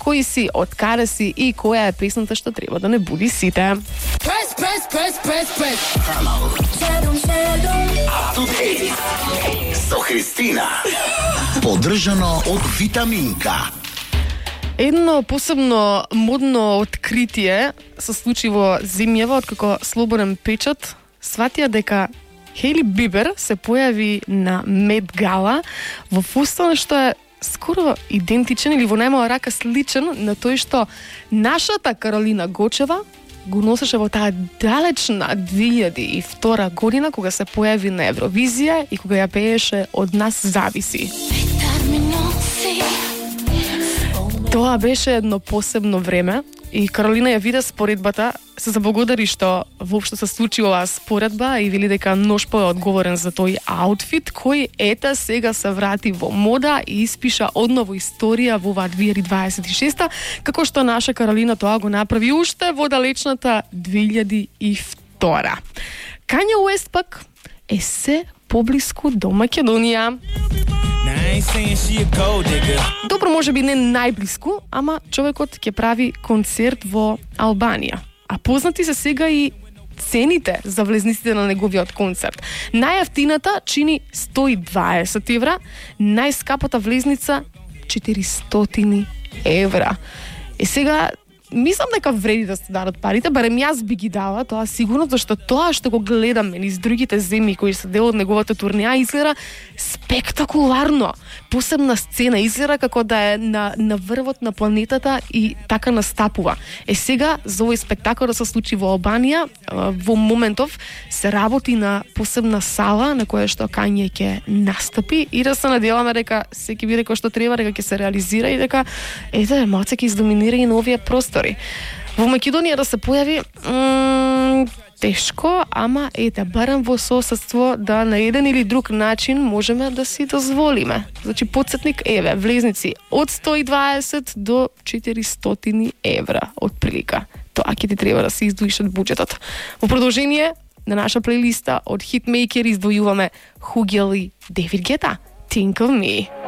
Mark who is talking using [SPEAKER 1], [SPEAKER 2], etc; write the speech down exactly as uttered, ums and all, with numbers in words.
[SPEAKER 1] кој си, од каде си и која е песната што треба да не буди сите.
[SPEAKER 2] Press, press, press, press, press.
[SPEAKER 3] Со Христина. Поддржано од Витаминка.
[SPEAKER 1] Едно посебно модно откритие се случи во земјава откако Слободен печат сватија дека Хейли Бибер се појави на Мет Гала во фустан што е скоро идентичен или во најмала рака сличен на тој што нашата Каролина Гочева го носеше во таа далечна две илјади и втора година кога се појави на Евровизија и кога ја пееше Од нас зависи. Тоа беше едно посебно време и Каролина ја виде споредбата, се заблагодари што воопшто се случи оваа споредба и вели дека Ношпо е одговорен за тој аутфит кој ета сега се врати во мода и испиша одново историја во оваа две илјади дваесет и шеста, како што наша Каролина тоа го направи уште во далечната две илјади и втора. Кање Уест пак е се поблиску до Македонија. Добро, може би не најблиску, ама човекот ќе прави концерт во Албанија. А познати се сега и цените за влезниците на неговиот концерт. Најевтината чини сто и дваесет евра, најскапата влезница четиристотини евра. И сега мислам дека вреди да се дадат парите, барем јас би ги дала, тоа сигурно, зашто тоа што го гледаме низ другите земји кои се дел од неговата турнеја изгледа спектакуларно. Посебна сцена, изгледа како да е на, на врвот на планетата и така настапува. Е сега, за овој спектакл да се случи во Албанија, во моментов се работи на посебна сала на која што Кање ќе настапи и да се надеваме дека се ќе биде кој што треба, дека ќе се реализира и дека ете, малце ќе издоминира и на овие простори. Во Македонија да се појави м- тешко, ама ете, барем во соседство да на еден или друг начин можеме да си дозволиме. Значи, подсетник, еве, влезници од сто и дваесет до четиристотини евра, од прилика. Тоа ќе ти треба да се издвоиш од буџетот. Во продолжение на наша плейлиста од Hitmaker издвојуваме Хугел и Девид Гета, Think of Me.